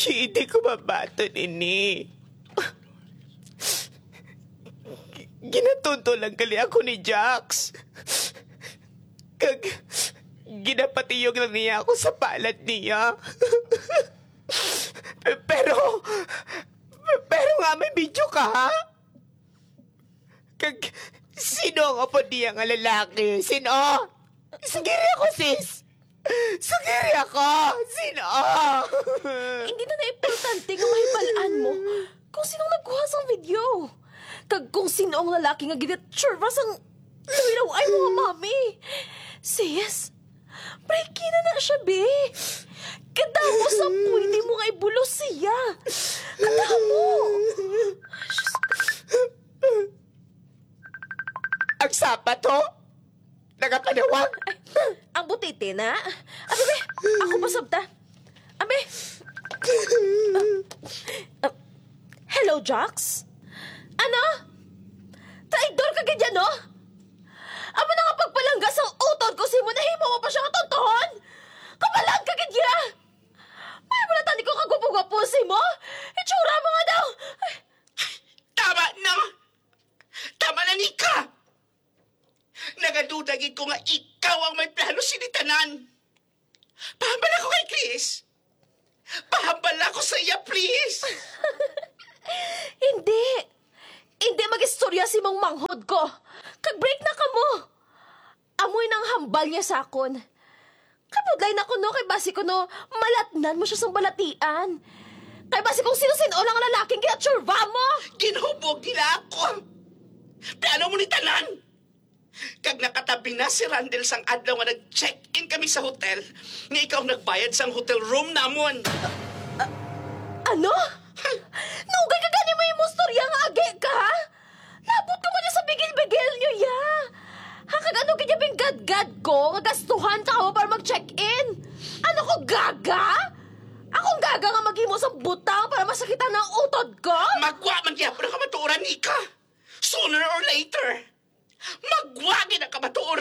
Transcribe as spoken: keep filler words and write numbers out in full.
Hindi ko mabaton ini. Ginatunto lang gali ako ni Jax. Kag ginapatiyog lang niya ako sa palad niya. Pero, pero nga may video ka, ha? Kag sino ang apo niya nga lalaki? Sino? Sugiri ako, sis! Sugiri ako! Sino? Hindi na na importante nga mahibalaan mo kung sinong nagkuha sang video. Kag kung sino ang lalaki nga ginatsurva sang lawilaw-ay mo nga mami. Sis, break na na siya, be. Kadamo sa pwede mo nga ibulos siya. Kadamo. Ang sapat, ho? Nagapanawag? Ang butiti na. Abi, be, ako pa sabta. Abi. Ah, hello, Jax? Ano? Traidor ka gid yan, no? Amo na nga pagpalangga sang utod ko sa imo, nahimo mo pa siya nga tontohon? Kabalaan ka gid ya! May wala tani ko kagwapo-gwapo sa imo? Itsura mo nga daw! Ay, Tama na! Tama na, Nika! Nagaduda gid ko nga ikaw ang may plano sini tanan. Pahambal ako kay Chris. Pahambal ako sa iya, please. Hindi! Hindi mag-istorya si mong manghod ko. Kag break na kamo. Amoy nang hambal niya sa akon. Kabudlay na kuno kay basi kuno malatnan mo siya sang balatian. Kay basi kung sino-sino lang lalaking ginatsurba mo. Ginhubog nila ako. Plano mo ni tanan. Kag nakatabi na si Randel sang adlaw nga nag-check-in kami sa hotel nga ikaw ang nagbayad sang hotel room namon. Ano? Nugay ka gani mo imong storya nga agi ka? Labot ka man sa bigil-bigil niyo, ya! Ha, kag ano gid yung gadgad ko nga gastuhan ka mo para mag-check-in? Ano ko, gaga? Akong gaga nga maghimo sa butang para masakitan ang utod ko? Magwa man gyapon ang kamatuoran, Nika. Sooner or later, magwa gid ang kamatuoran.